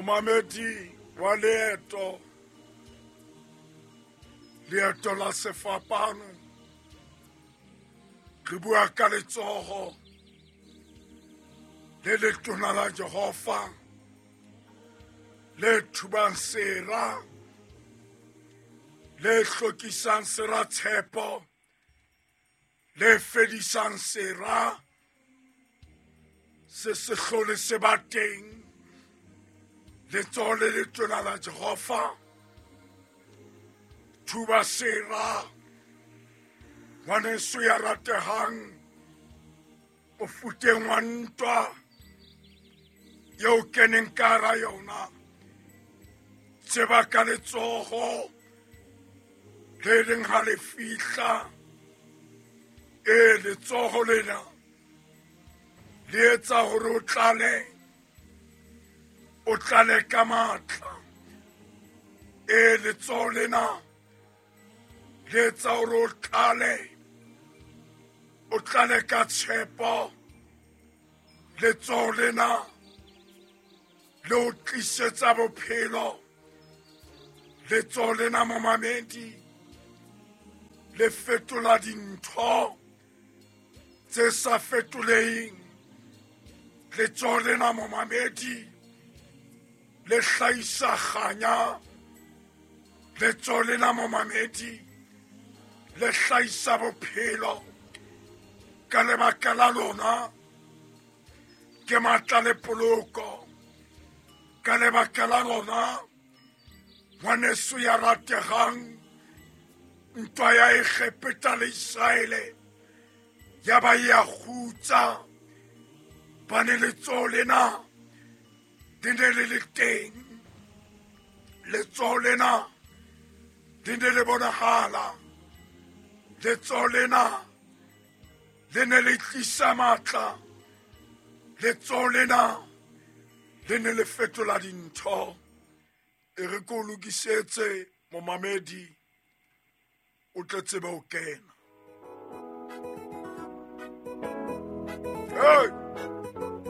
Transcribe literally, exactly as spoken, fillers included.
Momamedi wa leeto, leeto la sefapano, re bua ka letsoho le letona la Jehova le thubang sera, le hlokisang sera tshepo, le fedisang sera se se hlole se ba teng. Letsoho le letona la Jehova thuba sera. Ngwaneso ya ratehang, o futeng wa ntwa eo keneng ka hara yona, tseba ka letsoho le leng ha le fihla. E letsoho lena le etsa hore o tlale, o tlale ka matla. E letsoho lena le etsa hore o tlale, o tlale ka tshepo. Letsoho lena le o tlisetsa bophelo. Letsoho lena momamedi le fetola dintho tse sa fetoleheng. Letsoho lena momamedi le hlahisa kganya. Letsoho lena momamedi le hlahisa bophelo. Ka lebaka la lona ke matla le poloko. Ka lebaka la lona ngwaneso ya ratehang, ntwa ya Egepeta le Israele ya ba ya kgutsa. Bane letsoho lena le ne le le teng, letsoho lena le ne le bonahala, letsoho lena le ne le tlisa matla, letsoho lena le ne le fetola dintho. E re ko lokisetse momamedi, o tle tsebe ho kena. Hey!